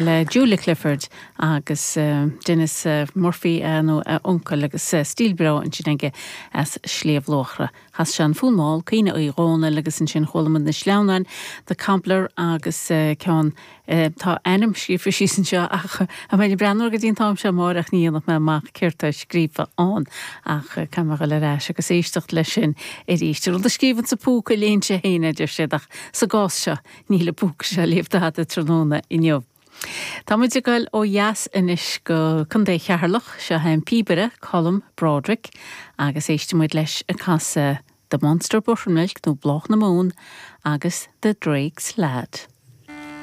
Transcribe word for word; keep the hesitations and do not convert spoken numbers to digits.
Le Julia Clifford agus uh, Dennis uh, Murphy uh, nó uh, uncail agus uh, stíl breá ansin aige as Sliabh Luachra. Chas sé an Fonn Mall Caoineadh Uí Dhónaill agus ansin chuala muid na sleamhnáin The Cobbler agus uh, ceann uh, tá ainm scríofa síos anseo ach a mé breathnú go dtí an t-am seo amárach ní dhéanfadh mé amach céard atá scríofa ann ach uh, caithfidh mé dul ar ais agus éisteacht leis sin arís. Rud a scríobhann sa phúca léann sé féin a deir siad ach sa gcás seo níl an púca seo ag léamh tada tráthnóna inniu. Tá muid ag dul ó dheas anois go Contae Cheatharlach seo an píobaire Colm Broderick agus éistfidh muid leis ag casadh The Munster Buttermilk nó Bláth na Mún agus The Drake's Lad.